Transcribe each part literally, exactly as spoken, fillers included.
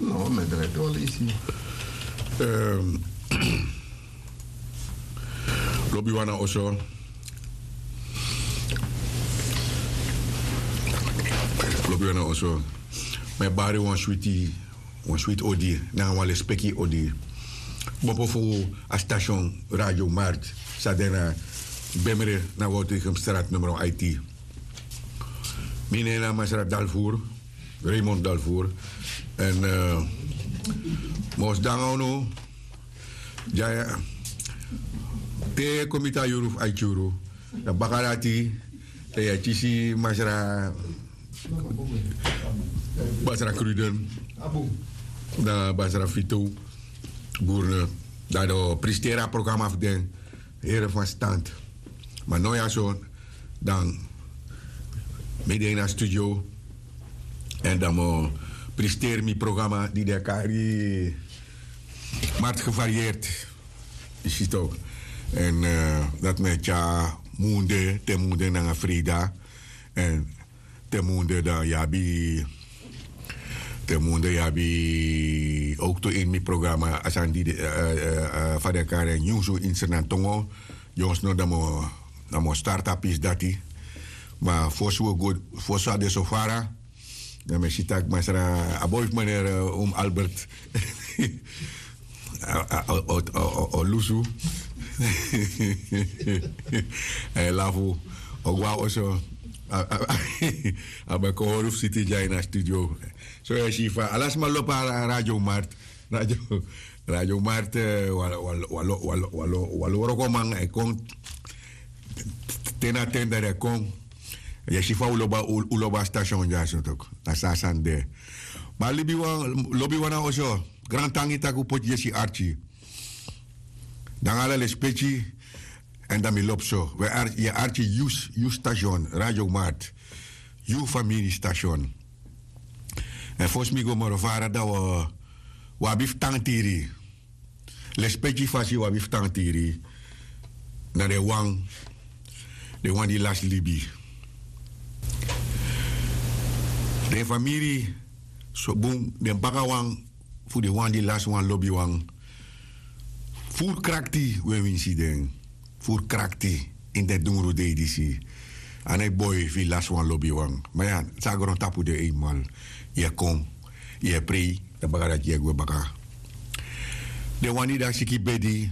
No, mi e drai te wan leisi. Lobi wan na oso. Lobi wan na oso. Mi e bari wan switi, wan switi odi nanga wan lespeki odi. Kmopo fu a station Radio Mart san de na Bemre na Woutegemstraat numero aiti. Mi nen na Masra Dalvoer, Raymond Dalvoer. En mi o sidon nanga unu dya te kon miti a yuru fu aiti yuru. Dan baka dati dan yu e kisi Masra, Masra Kruden, dan Masra Vito Burne, dan den o presteri a programa fu den. Here van stand. Ma now ya so dan mi de ini a studio. En dan mi o presteri mi programa di den e kari Mart Gevarieerd. Yu si tok. En dati mi e tyari munde te munde nanga freida. En te munde dan yu abi, te munde yu abi ook tu ini mi programa a sani di fa den e kari en nyunsu ini Sranan tongo. Dyonsno dan mi o start a pisi dati. Ma fosi wi o go, fosi a de so fara, dan mi e si tak' Masra, a boi fu meneer Um Albert o lusu. A e lafu. O go na oso. A ben kon hori fu siti dya ini a studio. So yu e si fa ala sma lobi a Radio Mart. Radio Mart, wan lo wrokoman e kon. Ten na ten dan den e kon. Yu e si fa un lobi a station dya so tok. Na so a sani de. Ma lobi wan na oso. Grantangi tak' un poti yesi arki. Nanga ala lespeki. En dan mi lobi so yu e arki yu station Radio Mart. Yu famiri station. En fosi mi go moro fara dan wi abi fu tan tiri. Lespeki fasi wi abi fu tan tiri. Na den wan, den wan di lasi libi. Den famiri so bun den baka wan fu den wan di lasi wan lobiwan. Furu krakti wi e winsi den. Furu krakti ini den dungru dei disi. A no e boi fu yu lasi wan lobiwan. Ma ya, san a grontapu de einmal. Yu e kon, yu e prei, dan baka dati yu e gwe baka. Den wan di de a siki bedi.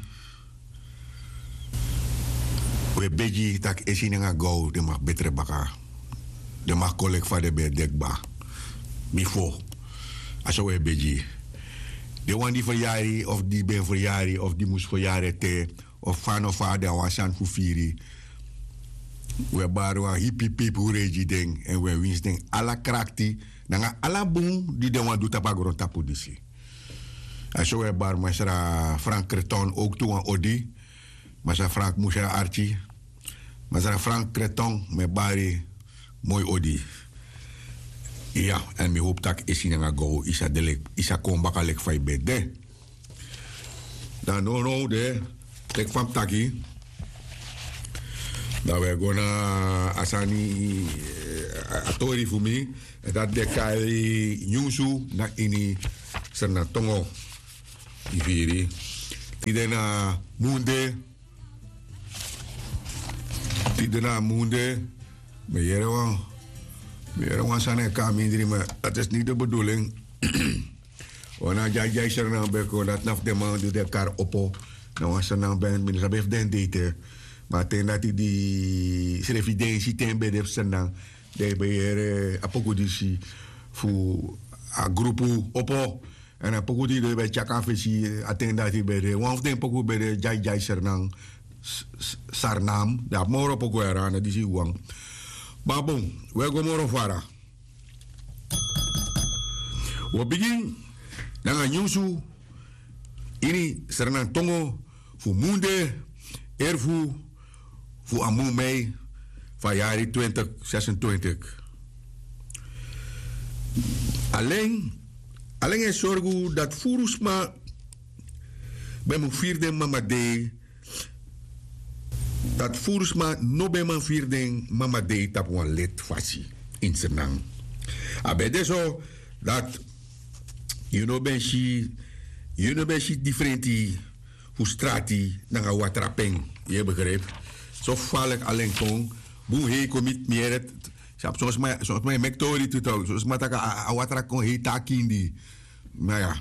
Wi e begi tak' esi nanga gow den mag betre baka. Den mag kon leki fa den ben e de kba bifo. A so wi e begi. Den wan di feryari of di ben feryari of di mus feryari ete, of fa no fa den a wan sani fu firi. Wi e bari wan hipi pipu rei gi den èn wi e winsi den ala krakti nanga ala bun di den wani du tapu a grontapu disi. A so wi e bari masra Frank Kreton owktu wan odi. Masra Frank musi na arki. Masra Frank Kreton mi e bari moi odi. Iya, èn mi howpu tak' esi nanga gow yu sa de leki yu sa kon baka leki fa yu ben de. Dan nownow de, teki fa mi taki. Dan wi e go na a sani, a tori fu mi. Èn dati de kari nyunsu na ini srnatongo. Yu firi? Tide na munde. Tide na munde. Mi e yere wan, mi e yere wan sani e kon na mindri ma dati isi niti de beduling. Wan na a dyai dyai srnan ben kon dati na fu den man di den kari opo. Na wan srnan ben mi no sabi efu den de ete. Ma a ten dati di srefi densi ten ben de fu srnan, den ben yere a poku disi fu a grupu opo. Èn a poku di den ben tyaki a fesi a ten dati ben de wan fu den poku ben de dyai dyai srnan. Sarnam den abi moro poku yara na disi wan. Ma bon, wi e go moro fara. Wi o bigin nanga nyunsu ini srnantongo fu munde erfu fu a mun mei fu a yari twintig sesentwintig. Alen alen e sorgu dati furu sma ben mu firi den mama dei. Dati furu sma no ben man firi den mama dei tapu wan leti fasi. Ini srnan a ben de so dati Yu no ben si yu no ben si difrenti fu strati nanga watrapen. Yu e begripi? So falik alen kon bun hei kon miti mi yere. Son sma e meki tori tu tok son sma taki a watra kon hei te a kindi. Ma ya,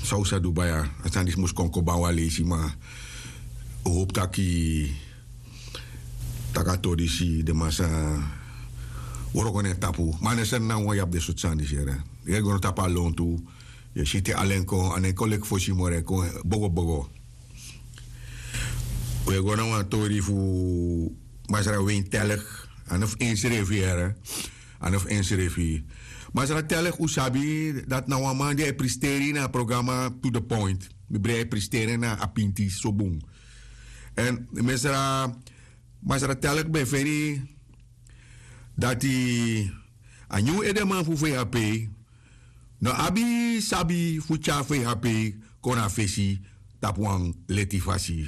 san un sa du baya? A sani disi mus kon kon ban wan leisi ma un hopu taki taki a tori disi den man sa wroko na en tapu. Ma a no e seni na wan yu abi den sortu sani disi yere. Yu e go na tapu a lontu. Yu e si te alen kon a no e kon leki fosi moro e kon bogobogo. Un e go na wan tori fu masra win telk. A no fu ensrefi yere. A no fu ensrefi. Masra telk un sabi dati na wan man di a e pristeri na a programa to the point. Mi brei a e pristeri na a pinti so bun. Èn masra masra telk ben feni dati a nyun edeman fu vhp no abi sabi fu tyari vhp kon na fesi tapu wan leti fasi.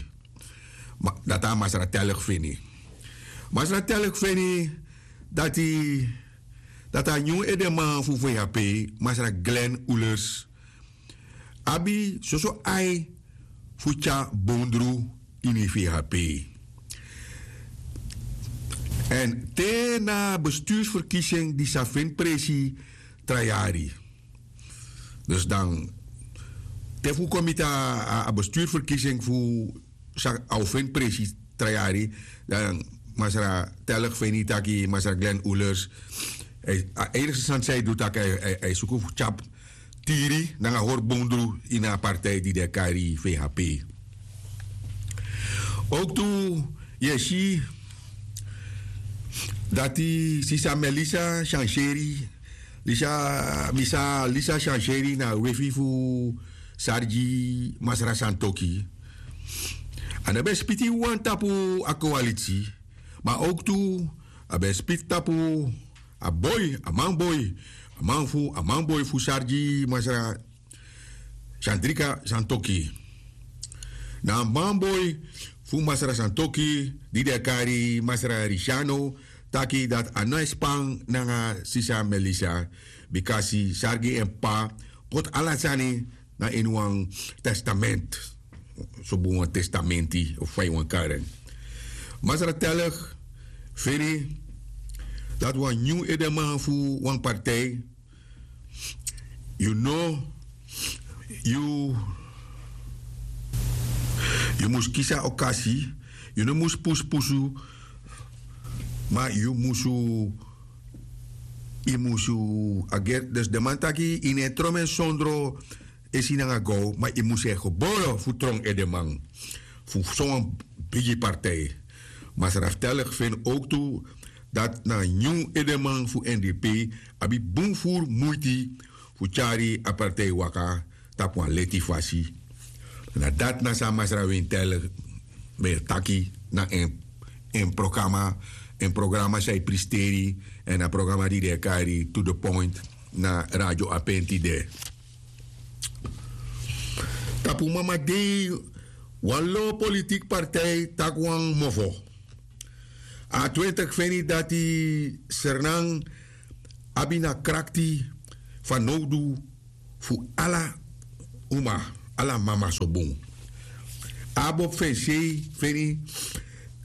Dati a masra telk feni. Masra telk feni dati dati a nyun edeman fu vhp masra glen ulers abi soso ai fu tyari bondru ini vhp. Èn te na bestursverkiesing di sa feni presi tra yari. Dus dan te fu kon miti a bestursverkiesing fu sa a o feni presi tra yari. Dan masra telk feni taki masra glen ulers a enigste sani san yu du taki a e suku fu tyapu tiri nanga hori bondru ini a partij di den e kari vhp. Owktu yu e si dati sisa melisa syanseri lisa misa lisa syanseri na a wefi fu sari gi masra santoki. A no ben spiti wan tapu a kowalitsi ma owktu a ben spiti tapu a boi a manboi a man fu a manboi fu sari gi masra sandrika santoki. Na a manboi fu masra santoki di den e kari masra risiano taki dati a no e span nanga sisa melisa bika si sari gi en p'pa poti ala sani na ini wan testament. So bun wan testamenti of fa yu wani kari en. Masra telk feni dati wan nyun edeman fu wan partij. Yu no yu yu mus kisi a okasi. Yu no mus pusupusu ma yu musu yu musu a gerti dus den man taki yu no e tron men sondro esi nanga gow ma yu mus e gebore fu tron edeman fu sowan bigi partij. Masra fu telk feni owktu dati na nyun edeman fu n d p abi bun furu muiti fu tyari a partij waka tapu wan leti fasi. Na dati na san masra wintel ben e taki na en en programa en programa san e pristeri èn a programa di den e kari to the point na radio apen tide. Tapu mama dei wan lo politiki partij taki wan mofo a twintig feni dati sernan abi na krakti fanowdu fu ala uma ala mama so bun. Abob fu en sei feni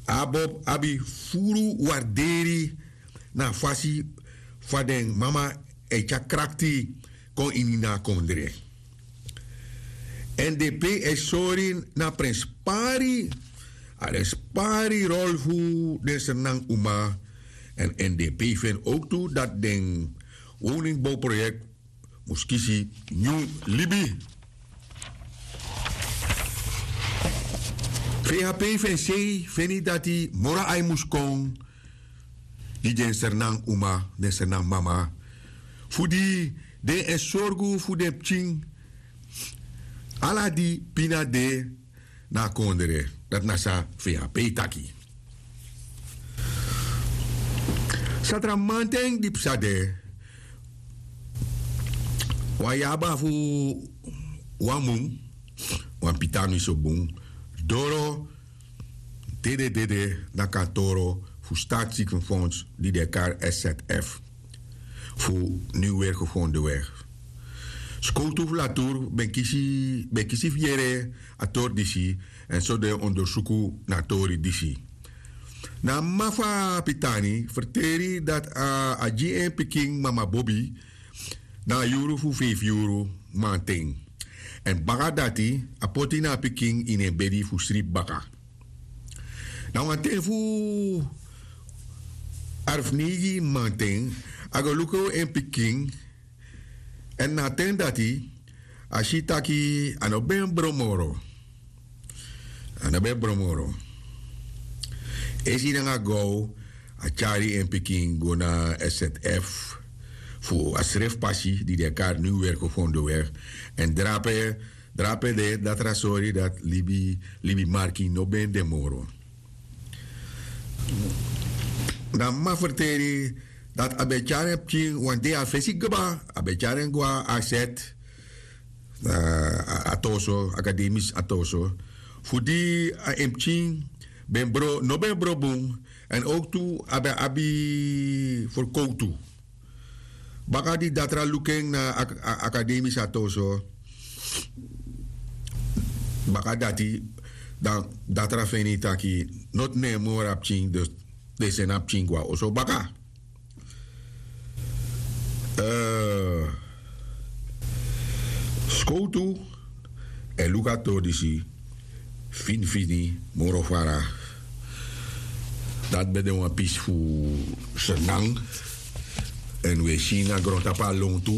abob abi furu warderi na a fasi fa den mama e tyari krakti kon ini na a kondre. Èn den pe e sori na prenspari a den spari rol fu den sernan uma. Èn èn den pe yu feni owktu dati den woningbowproyekti mus kisi nyun libi. Fe hape yu fu en sei feni dati moro ai mus kon gi den sernan uma den sernan mama fu di den e sorgu fu den pikin ala di pina de na a kondre. Dati na san fu en a pe yu taki. Satramanten di psa de wan yaba fu wan mun wan pitanu yu so bun doro dede dede na kantoro fu staatsziekenfonds di den e kari szf fu niwwergevonden weg. Skowtu fu latur ben kisi ben kisi fu yere a tori disi, èn so den ondersuku na a tori disi. Na a mama fu a pitani ferteri dati a gi en pikin mama bobi na a yuru fu feifi yuru manten. Èn baka dati a poti na a pikin ini en bedi fu sribi baka. Na wan ten fu arfneigi manten a go luku en pikin. Èn na a ten dati a si taki a no ben bron moro. A no ben bron moro. Esi nanga gow a tyari en pikin go na sf fu a srefi pasi di den e kari niw werko fondoweg. Èn drape drape de datra sori dati libi libi marki no ben de moro. Dan mama ferteri dati a ben tyari en pikin wan dei a fesi kba a ben tyari en go na aset. A toso akademis a toso fu di a en pikin ben bro no ben bro bun. Èn owktu a ben abi ferkowtu. Baka di datra luku en na akademis a toso baka dati dan datra feni taki noti no en moro a pikin dus den seni a pikin go na oso baka. Skowtu e luku a tori disi fini fini moro fara. Dati ben de wan pisi fu sernan. Èn un e si na grontapu a lontu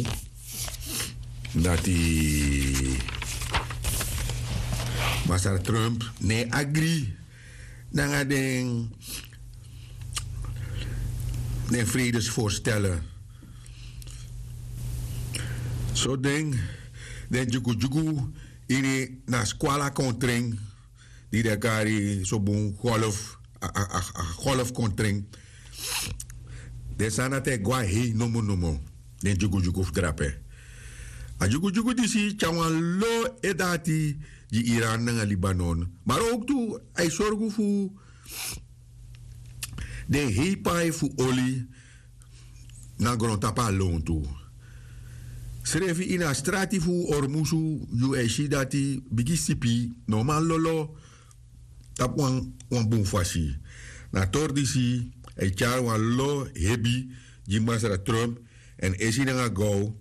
dati masra trump no e agri nanga den den fredesforstellen. So den den dyukudyuku ini na skwala kon tren di den kari so bun golf a golf kon tren. Den sani dati e go na hei nomo nomo. Den dyukudyuku fu drape a dyukudyuku disi tyari wan lo e dati gi iran nanga libanon. Mari owktu a e sorgu fu den hei pai fu oli na grontapu a lontu. Srefi ini a strati fu ormusu yu e si dati bigi sipi no man lolo tapu wan bun fasi. Na a tori disi a e tyari wan lo hebi gi masra trump èn esi nanga gow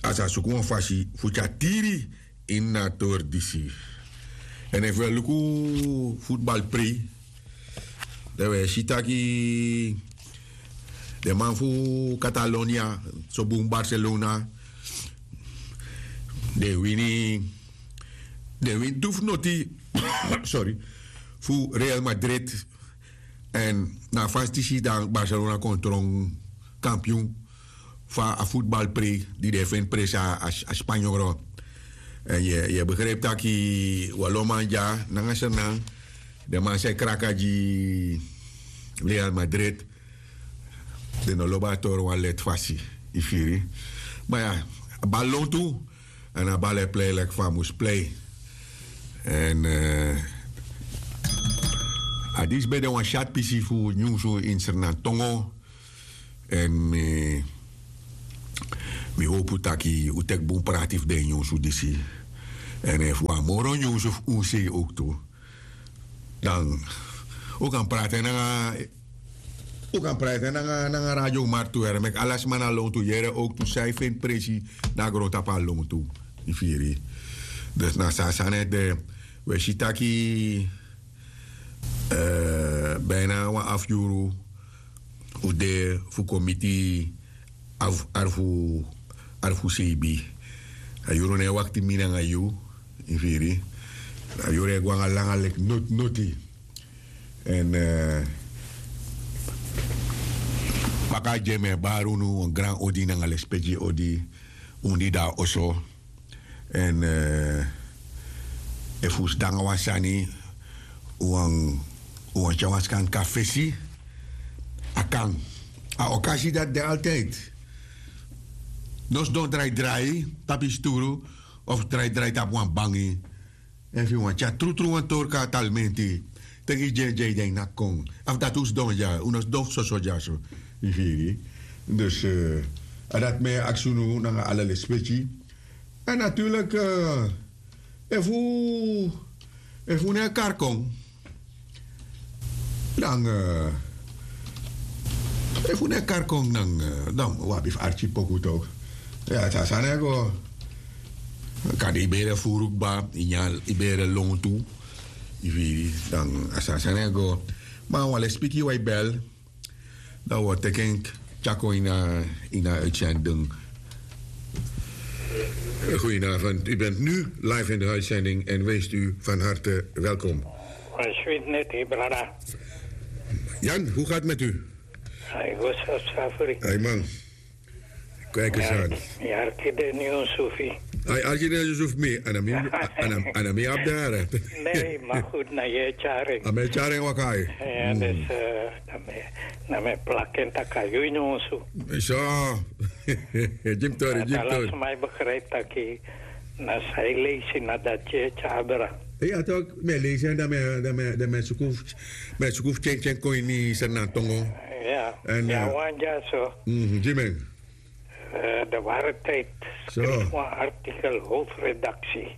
a sa suku wan fasi fu tyari tiri ini na a tori disi. Èn efu wi e luku futbalprei dan wi e si taki den man fu katalonia so bun barcelona den wini den wini tu fu noti sori fu real madrid. Èn na a fasi disi dan barcelona kon tron kampiun fu a futbalprei di den e feni presi a spanyoro. Èn yu e begripi taki wan lo man dya nanga sernan den man san e kraka gi real madrid. Den no lobi a toro wan leti fasi yu firi. Ma ya a bal lontu èn a bal e plei leki fa a mus plei. Èn a disi ben de wan syati pisi fu nyunsu ini srnan tongo. Èn mi mi howpu taki un teki bun prati fu den nyunsu disi. Èn efu wan moro nyunsu fu unsei owktu dan un kan prati en nanga un kan prati en nanga radio martu yere meki ala sma na lontu yere owktu san yu feni presi na grontapu a lontu. Yu firi? Dus na so a sani ete de wi e si taki bina wan afu yuru un de fu kon miti afu arfu sebi. A yuru no e wakti mi nanga yu. Yu firi? A yuru e go nanga langa leki noti noti. Èn baka a gi en mi e bari unu wan gran odi nanga lespeki odi. Un di de na oso èn efu un sidon nanga wan sani un wani tyari wan skanka fesi. A kan a okasi dati de altide. No sidon draidrai tapu yu sturu of draidrai tapu wan bangi. Efu yu wani tyari trutru wan torka talmenti teki yu dyendyen yu den yu naki kon. Efu dati un sidon dya un no sidon fu soso dyaso. Yu firi? Dus A dati mi e aksi unu nanga ala lespeki. En natuurlik, efu efu un no e kari kon, dan efu un no e kari kon, dan un abi fu arki poku tok. Ya, a sani e go. Kande yu bere furu kba, yu nyan, yu bere lontu, yu firi, dan a sani e go. Ma wan lespeki wan e bel. Dan wi o teki en tyari kon ini a ini a uitzending. Goedenavond, u bent nu live in de uitzending en wijst u van harte welkom. Wan switi neti, brada. Jan, hoe gaat met u? Ai, go so safri. Ai man. Kweke san. Mi arki den nyunsu fu yu. Ai, arki den nyunsu fu mi. A na mi, a na mi abi den. Ne, ma goed, na yu e tyari en. A mi e tyari en waka. Ya, dus, na mi e plaki en taki a yu nyunsu. So. Gi mi tori, gi mi tori. Ala sma e begrijp taki na san yu leisi na dati yu e tyari, bra. Ya tok, mi e leisi en, dan mi e, dan mi e, dan mi e suku fu, mi e suku fu tyentyen kon ini Sranan tongo. Ya, en ya, wan dyaso. Gi mi en. De Ware Tijd schreef wan artikel, hoofdredactie.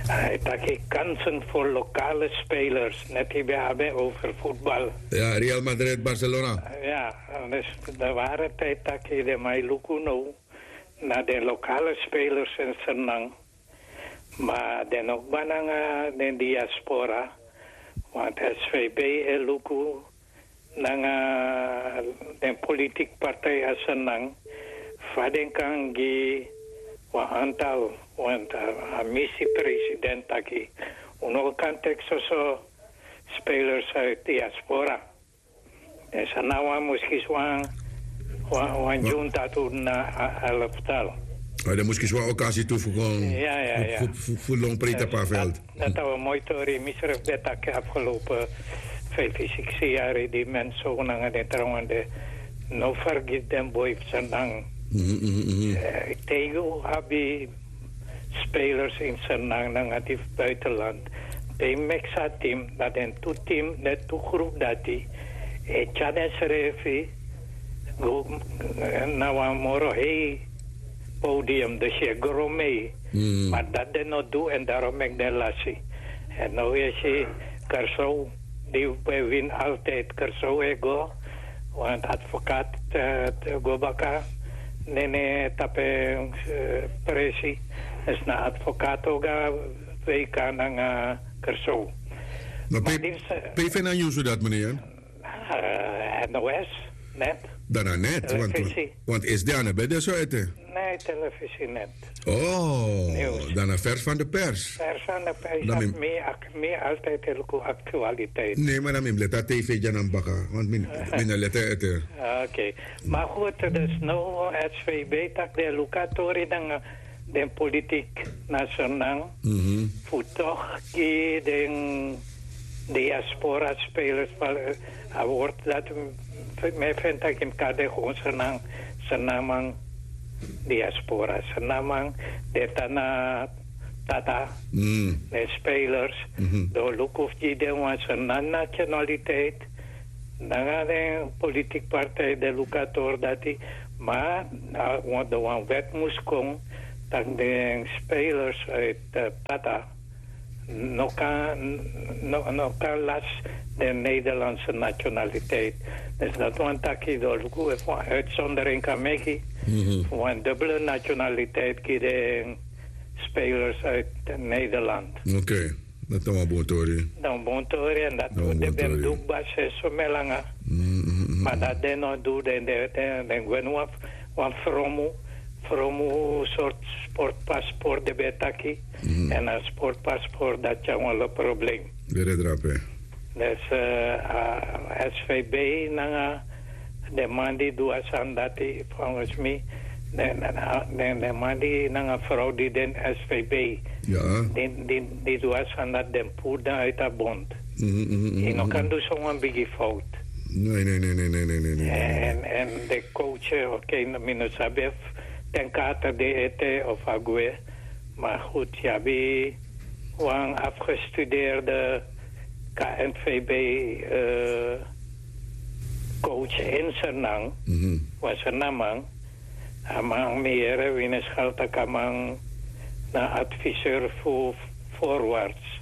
Hij taki kansen voor lokale spelers, net die we hebben over voetbal. Ja, Real Madrid, Barcelona. Ja, dus de Ware Tijd taki de mai luku no na de lokale spelers in Sernang. Ma den no kba nanga den diaspora, want S V B e luku nanga den politiki partij a Sernang, fa den kan gi wan antal, want a misi president taki un no kan teki soso spelers uit diaspora. En san na wan muskis wan, wan, wan junta tu na a, a elftal. A den muskis wan okasi tu fu kon, ya, ya, fu, ya, fu, fu, fu lon prei tapu a veld. Dati a wan moi tori, mi srefi ben taki afgelopen vijf, siksi yari, di men so nanga den trawan de, no vergis den boi fu Sernang. Mhm, mhm, mhm. Eh, te yu abi spelers in Sernang nanga di fu buitenland. Te yu meki san team, dan den tu team, den tu groep dati e tyari densrefi go na wan moro hei podium, dus yu e gro mee. Ma dati den no du, en daarom meki den lasi. En now yu e si Kêrso, di e win altijd, Kêrso e go, want advocaat, eh, go baka, nene tapu en, eh, presi. Dus na advocaat o go na W K nanga Kêrso. Ma pe, pe yu feni a nyunsu dati, meneer? Eh, N O S, net. Dan na net, want, want is de ane ben de so ete. Nee, televisie net. Oh, dan na vers van de pers. Vers van de pers, dan mi, mi, mi altijd heel goed actualiteit. Nee, maar dan mi leta T V dyan na baka, want mi, mi na leta ete. Oké. Maar goed, dus no S V B taki den luku a tori nanga den politiki na Sernang. Mhm. Fu toch gi den diaspora spelers, a woord dati mi e feni taki mi kan de gewoon Sernang, Sernaman diaspora, Sernaman, den tan na tata, den spelers, den o luku fu gi den wan Sernan nationaliteit, nanga den politiki partij den luku a tori dati, ma, a, wan, de wan wet mus kon, taki den spelers uit, eh, tata, no kan, no, no kan lasi den Nederlandse nationaliteit. Dus dati wani taki den o luku efu wan uitzondering kan meki, mhm, fu wan dubbele nationaliteit gi den spelers uit Nederland. Oké, dati na wan bun tori. Na wan bun tori, en dati den ben du kba so langa. Mhm, mhm, mhm. Ma dati den no du, den, den, den, den gwe na wan, wan fromu, fromu sortu sportpaspoort den ben e taki. Mhm. En a sportpaspoort dati tyari wan lo problem. Bere drape. Dus, eh, a S V B nanga den man di du a sani dati, volgens mi, den, den, den man di nanga frow di de ini S V B. Ya. Di, di, di du a sani dati, den puru den uit a bond. Mhm, mhm, mhm. Yu no kan du so wan bigi fout. Nee, nee, nee. En, en den coach, eh, oké, mi no sabi efu Ten Kate de ete of a gwe. Maar goed, yu abi wan afgestudeerde K N V B, eh, coach in Sernang, mhm, wan Sernaman. A man mi yere wini skaltakaman na adviseur fu forwards.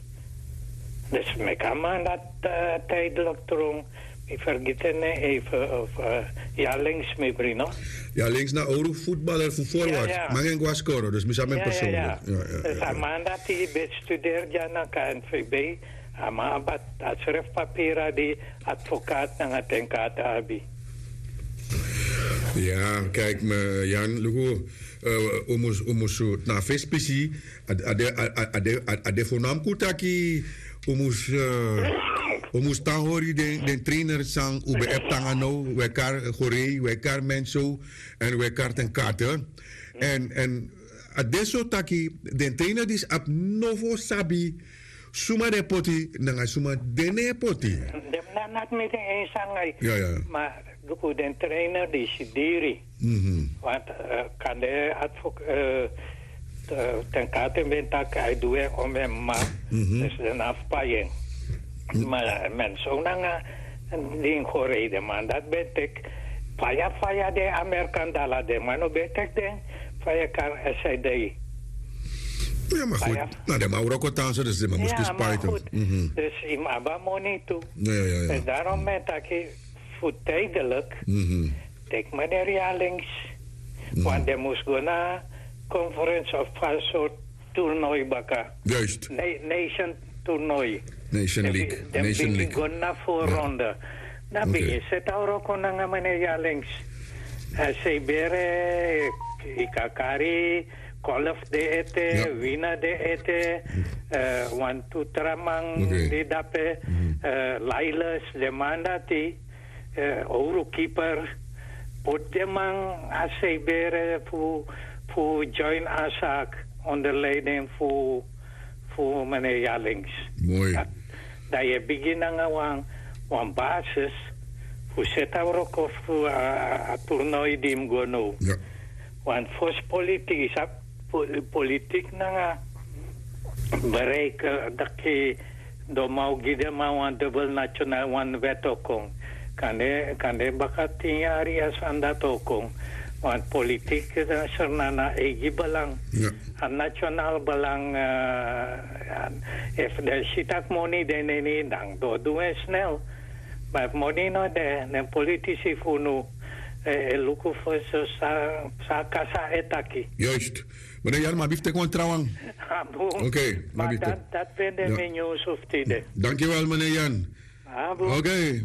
Dus meki a man dat uh, tijdelijk drong. Mi vergeten ne even of uh, ja links mi brino. Ja links na oru voetballer fu forwards. Ja, ja. Mangen guascoro dus mi samen ja, persoonlijk. Ja, ja. Dus a man dat hij bestudeert ja na K N V B. A man abat a sref papira di advocaat nanga tenkata abi. Ya kijk me yan luku, umusu na fespisi. A de fo nam kutaki. Umusu tan hori den trainer san ube eptanga no wekar, hori wekar menso. En wekar ten kate. En a de so taki den trainer disi abi nofo sabi suma den poti nanga suma den no e poti. Den na nati miti en sanga. Ma luku den trainer disi diri. Want kande advok ten kate ben taki a e du en om en mama. Dus den na fu pai en. Ma men so nanga din go rei den man dati ben teki faya faya den amerikan dala den man no ben teki den faya kari. Esei dei. Ya ma gudu na den man wroko tan so dus den man mus kisi pai tu. Dus yu mus abi a moni tu. Dus darom mi e taki fu tidelik teki maneri ya links. Want den mus go na conference of a sort toernoi baka. Nation toernoi. Den bigin go na voorronde. Dan bigin seti a wroko nanga maneri ya links. Esei bere, yu kan kari, kolf de ete, wina de ete, wan tu tra man di dape, lailes, den man dati, owru kiper, poti den man a sei bere fu join a saki onder leiding fu fu meneer Yalings. Dan yu e bigin nanga wan wan basis fu seti a wroko fu a tournoi di mus go now. Want fosi politik yu sabi politik nanga bereik daki domaw gi den man wan dubel national wan wet o kon. Kande baka tin yari a sani dati o kon. Want politik sernana eigi belang. A national belang. Efu den si tak' moni de na ini dan den o du en snel. Ma efu moni no de den politisi fu unu e luku fu san a kasa e taki. Yoist. Meneer Jan, ma a biftek wan trawan. Oké, ma a biftek. Dat ben de menu sufti de. Dankjewel meneer Jan. Oké.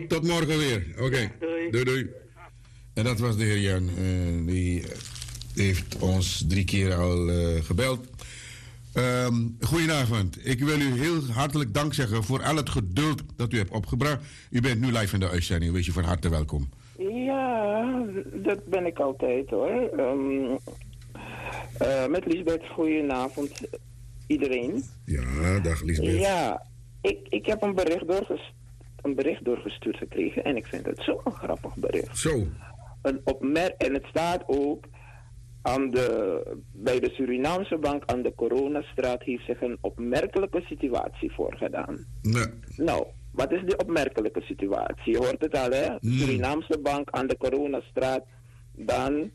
Tot morgen weer. Oké. Doei doei. En dat was de heer Jan. Die heeft ons drie keer al gebeld. Goedenavond. Ik wil u heel hartelijk dank zeggen voor al het geduld dat u hebt opgebracht. U bent nu live in de uitzending. Wees u van harte welkom. Ja, dat ben ik altijd hoor. Met Lisbeth, goedenavond iedereen. Ja, dag Lisbeth. Ja, ik heb een bericht doorgestuurd gekregen en ik vind het zo een grappig bericht. Zo. Een opmerk en het staat ook aan de, bij de Surinaamse bank aan de Coronastraat heeft zich een opmerkelijke situatie voorgedaan. Nou, wat is die opmerkelijke situatie? Je hoort het al, hè? Surinaamse bank aan de Coronastraat. Dan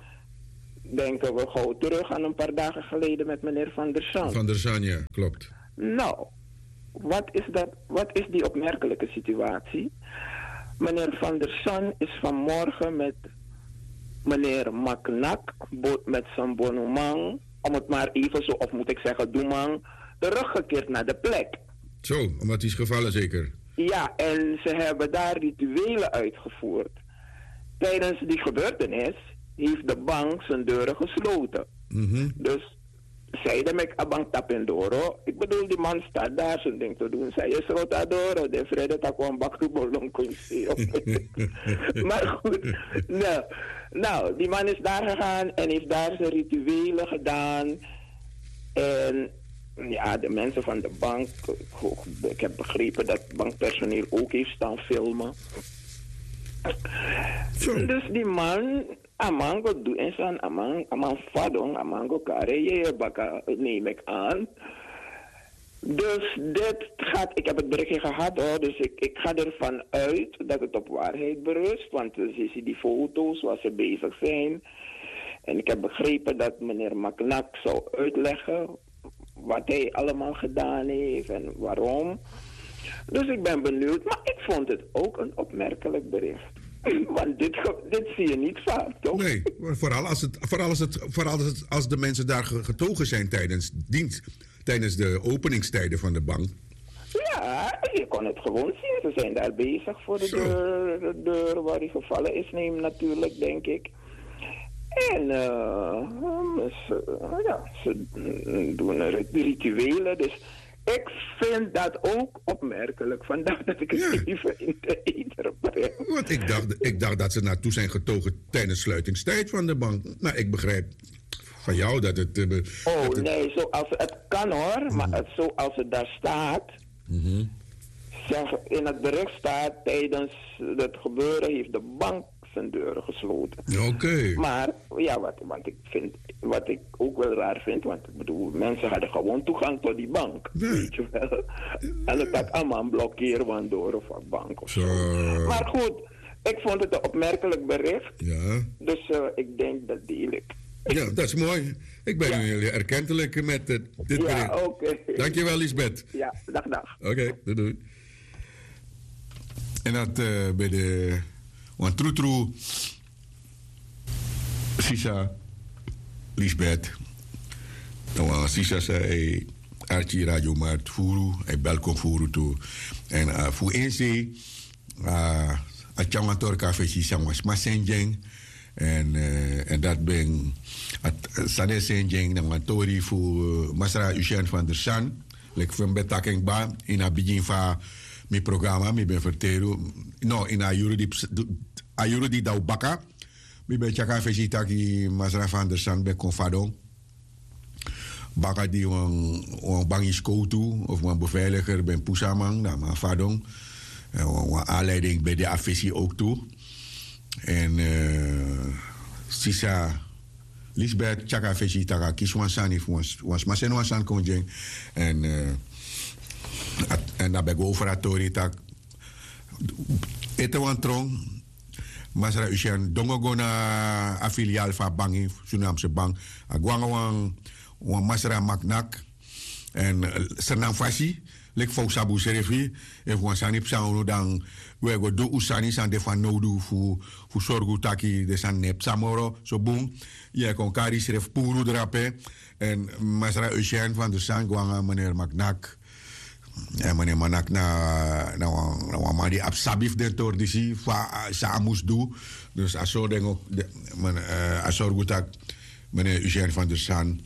denken we gauw terug aan een paar dagen geleden met meneer Van der Zand. Van der Zand, ja, klopt. Nou, wat is, dat, wat is die opmerkelijke situatie? Meneer Van der Zand is vanmorgen met meneer Maknak, met zijn bonuman, om het maar even zo, of moet ik zeggen, doeman, teruggekeerd naar de plek. Zo, omdat hij is gevallen zeker? Ja, en ze hebben daar rituelen uitgevoerd. Tijdens die gebeurtenis heeft de bank zijn deuren gesloten. Dus zeiden met a bank tapendoro. Ik bedoel, die man staat daar zijn ding te doen. Zij is rotadoro, de vrede takwan baktu bolon kunsi. Maar goed, nou, nou, die man is daar gegaan en heeft daar zijn rituelen gedaan. En ja, de mensen van de bank, ik heb begrepen dat bankpersoneel ook heeft staan filmen. Dus die man, a man go du en san, a man, a man fadon, a man go kare ye baka, neem ik aan. Dus dit gaat, ik heb het berichtje gehad hoor, dus ik, ik ga ervan uit dat het op waarheid berust, want we zien die foto's waar ze bezig zijn. En ik heb begrepen dat meneer Maknak zou uitleggen wat hij allemaal gedaan heeft en waarom. Dus ik ben benieuwd, maar ik vond het ook een opmerkelijk bericht. Want dit, ge- dit zie je niet vaak, toch? Nee, maar vooral als, het, vooral als, het, vooral als, het, als de mensen daar ge- getogen zijn tijdens dienst, tijdens de openingstijden van de bank. Ja, je kon het gewoon zien. Ze zijn daar bezig voor de deur, de deur waar hij gevallen is, neem natuurlijk, denk ik. En eh, ze, ja, ze doen rit- rituelen. Dus ik vind dat ook opmerkelijk. Vandaar dat ik het even in de eder breng. Want ik dacht, ik dacht dat ze naartoe zijn getogen tijdens sluitingstijd van de bank. Maar ik begrijp van jou dat het... eh, Oh dat het nee, zoals het kan hoor, maar het, zoals het daar staat, zeg, in het bericht staat, tijdens het gebeuren heeft de bank zijn deuren gesloten. Oké. Maar ja, wat, want ik vind, wat ik ook wel raar vind, want ik bedoel, mensen hadden gewoon toegang tot die bank. Weet je wel. En dat had allemaal blokkeer van door of een bank of zo. Maar goed, ik vond het een opmerkelijk bericht. Ja. Dus eh, ik denk dat deel ik. Ja, dat is mooi. Ik ben nu heel erkentelijk met eh, dit bericht. Ja, oké. Dankjewel, Lisbeth. Ja, dag, dag. Oké, doei, doei. En dat eh, bij de wan trutru sisa Lisbeth. Dan wan sisa sa hij archi radio mart furu, hij belkom furu tu. En eh, fu insi a tyanwan tori kan fesi san wan sma sendjeng. En eh, en dat ben a- sani e sendjeng na wan tori fu eh, masra Usian van der San. Leki fu mi ben taki en kba ini a bigin fu a mi programa mi ben ferteri unu. No ini a yuru di ps- du- a yuru di dan un baka, mi ben tyari a fesi taki masra van der San ben kon fadon. Baka di wan wan bangi skowtu of wan beveiliger ben pusu a man dan a man fadon. En wan wan aanleiding ben de a fesi ook tu. En eh, sisa Lisbeth tyari a fesi taki a kisi wan sani fu wan s- wan sma seni wan sani kon gi en. En eh, a- en dan ben go over a tori taki ete wan tron, masra Usian dongo go na a filial fu a bangi, Surinaamse bank. A go nanga wan wan masra Maknak. En eh, Sernang fasi, leki fa un sabi unsrefi, efu wan sani psa unu dan un e go du un sani san de fanowdu fu fu sorgu taki den sani no e psa moro so bun. Yu e kon kari yusrefi puru drape. En masra Eugène van der Sand go nanga meneer Maknak. En meneer Maknak na na wan na wan man di abi sabi fu den tori disi fa san a mus du. Dus a sori den o- den- men- eh, a sorgu taki meneer Eugène van der Sand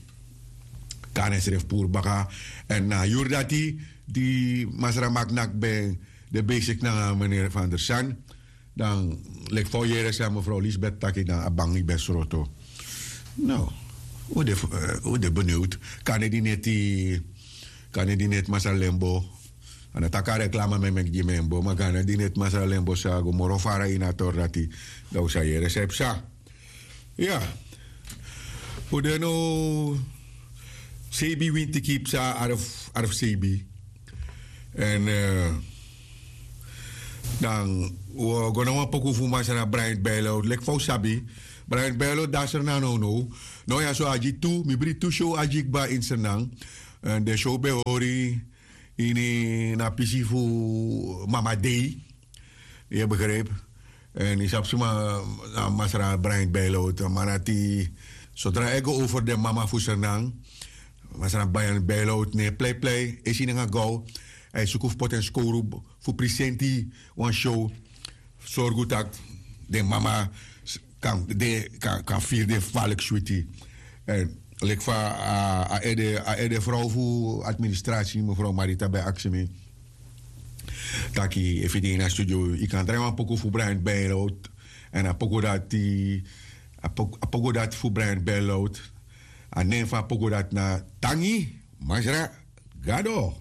kan ensrefi puru baka. En na a yuru dati di masra Maknak ben de besik nanga meneer van der Sand. Dan leki fa un yere san mevrouw Lisbeth taki dan a bangi ben sroto. No, un de beniwd. Kande di neti kande di neti masra Lembo. A no taki a reklama mi e meki gi mi en bo ma kande di neti masra Lembo sa go moro fara ini a tori dati, dan un sa yere san e psa. Ya. Un de no seibin winti kibsa arf seibin. En dan un o go na wan poku fu masra Brian Bijlout leki fa un sabi. Brian Bijlout de na Sranan nownow. Now ya so a gi tu mi bri tu show a gi kba ini Sranan. En den show ben hori ini na pisi fu Mama Dei. Yu e begrijpi? En yu sabi suma na masra Brian Bijlout a man dati sodra a e go over den mama fu Sranan. Masra Brian Bijlout no e pleiplei esi nanga gaw. A e suku fu poti en skowru fu prisenti wan show. Sorgu tak' den mama kan firi den faliki switi. Leki fa a ede frow fu administrasi mevrouw Marita ben aksi mi taki efu yu de ini a studio yu kan drai wan poku fu Brian Bijlout. Èn a poku dati a poku dati fu Brian Bijlout. A nen fu a poku dati na Tangi Masra Gado.